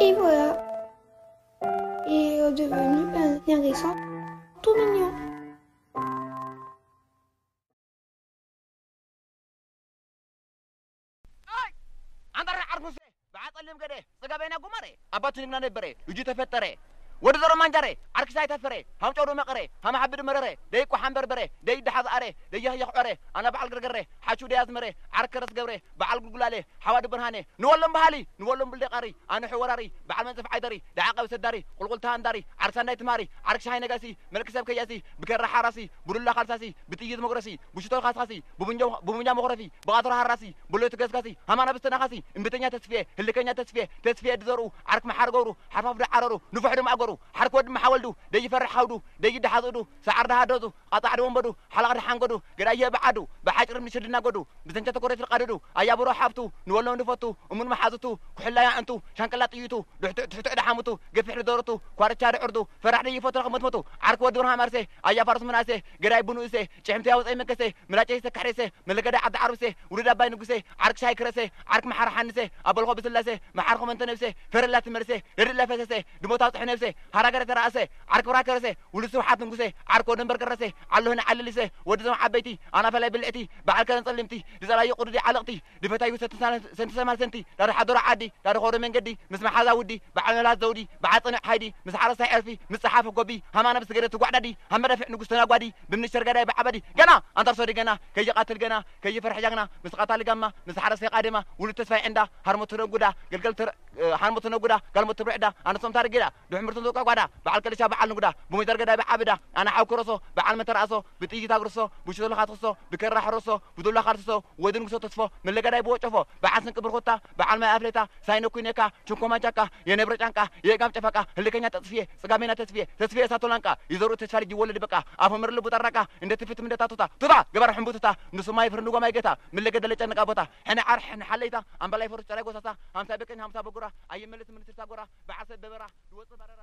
Et voilà. Et il est devenu un hérisson tout mignon. ኣንታ ርሓ ዓርኩሴ ብዓጸሊም ገደ ጽጋበይና ጉመረ ኣባቱ ንግና ነበረ ልጁ ተፈጠረ ወዲ ዘሮ ማንጃረ ዓርክሳይ ተፈረ ሃምጨዶ መቐረ ሃማሓብድ መረረ ደይቆ ሓንበርበረ ደይደሓዝኣረ ደየኽየኽ ዖረ ኣና በዓል ገርገረ ሓቹ ደያዝመረ ዓርከረስ ገብረ በዓል ጉልጉላለ ሓዋዱ ብርሃነ ንወሎም በሃሊ ንወሎም ብልደቃሪ ኣንሑ ወራሪ በዓል መንጽፍ ዓይደሪ ደዓቐብ ሰዳሪ ቁልቁልታ ኣንዳሪ ዓርክሳ እንዳይ ትማሪ ዓርክ ሻሃይ ነጋሲ መልክ ሰብ ከያሲ ብከራ ሓራሲ ብዱላ ካልሳሲ ብጥይት መጉረሲ ብሽቶ ካስኻሲ ብቡንጃ መኹረፊ ብቓትሮ ሃራሲ ብሎቱ ገስጋሲ ሃማና ብስተናኻሲ እምብተኛ ተስፍየ ህልከኛ ተስፍየ ተስፍየ ድዘርኡ ዓርክ መሓር ገብሩ ሓርፋፍ ዶ ዓረሩ ንፉሕ ዶ ማእገሩ ሓርክ ወዲ መሓወልዱ ደይፈርሕ ሃውዱ ደይደሓዝእዱ ሰዓር ደሃደዙ ቃጻዕ ድወንበዱ ሓላቕ ደሓንገዱ ገዳየ ብዓዱ ብሓጭር ምንሽር ድናገዱ ብዘንቸ ተኮሬት ርቃድዱ ኣያብሮ ሓፍቱ ንወሎም ድፈቱ እሙን መሓዝቱ ኩሕላያ እንቱ ሻንቅላ ጥይቱ ድሕትዕ ድሓሙቱ ገፊሕ ድደረቱ ኳርቻ ድዕርዱ ፈራሕ ደይፈቱ ረኽመትመቱ ዓርክ ወዲ ብርሃን ኣርሴ ኣያ ፋርስ ምናሴ ገዳይ ብንኡሴ ጭሕምቲ ኣውፀይ መከሴ ምላጨይ ሰካሕሬሴ መለገዳ ዓዲ ዓርብሴ ውሉድ ኣባይ ንጉሴ ዓርክ ሻይ ክረሴ ዓርክ መሓር ሓንሴ ኣበልኾ ብስላሴ መሓር ኾመንተ ነብሴ ፈረላ ትመልሴ ደድላ ፈሰሴ ድሞት ኣውፅሒ ነብሴ ሃራገረ ተራእሰ ዓርክ ብራ ከረሴ ውሉድ ስብሓት ንጉሴ ዓርክ ወደንበር ከረሴ ዓሎህን ዓለሊሴ ወዲ ዞም ዓበይቲ ኣናፈላይ ብልዕቲ በዓል ከረን ፀሊምቲ ድፀላዩ ቁዱዲ ዓለቕቲ ድፈታዩ ሰንቲ ሰማል ሰንቲ ዳዶ ሓደሮ ዓዲ ዳዶ ኾዶ መንገዲ ምስ መሓዛ ውዲ በዓል መላት ዘውዲ በዓል ፀኑዕ ሓይዲ ምስ ሓረስታይ ዕርፊ ምስ ፀሓፊ ጎቢ ሃማና ብስገደ ትጓዕዳዲ ሃመዳፊዕ ንጉስ ተናጓዲ ብምንሽር ገዳይ ብዓበዲ ገና ኣንታር ሶዲ ገና ከይቃትል ገና ከይፈርሕ ጃግና ምስ ቃታሊ ጋማ ምስ ሓረስታይ ቃደማ ውሉድ ተስፋይ ዕንዳ ሃርሞት ተነጉዳ ገልገል ተረ- እ፣ ሃርሞት ተነጉዳ ጋልሞት ትብርዕዳ ኣነሶም ታርጌዳ ድሕምርቶም ተቋቋዳ በዓል ከልሻ በዓል ንጉዳ ብሞይተር ገዳይ ብዓብዳ ኣነ ሓው ክረሶ በዓል መተራእሶ ብጥይት ኣግርሶ ብሽቶ ለኻትክሶ ብከራ ሕረሶ ብዱላ ካልስሶ ወዲ ንጉሶ ተስፎ መለገዳይ ብወጨፎ በዓል ስንቂ ብርኹታ በዓል ማይ ኣፍሌታ ሳይነ ኩይነካ ችንኮ ማንቻካ የነብረ ጫንቃ የእጋም ጨፈቃ ህልከኛ ተጽፍየ ጽጋሜና ተስፍየ ተስፍየ እሳቶ ላንቃ ይዘርኡ ተስፋ ልጅ ይወለድ በቃ ኣፎ ምር ልቡ ጠራቃ እንደ ትፍት ምንደታ ቱታ ቱታ ገባር ሕንቡትታ ንሱ ማይ ፍርንጎ ማይ ገታ ምለገ ደለጨ ንቃ ቦታ ሕነ ዓር ሕነ ሓለይታ ኣምበላይ ፈሩስ ጨራይ ጎሳሳ ሃምሳ በቀኝ ሃምሳ በጉራ ኣይመልስ ምንስርታ ጎራ በዓል ሰብ በበራ ድወጽእ ባረራ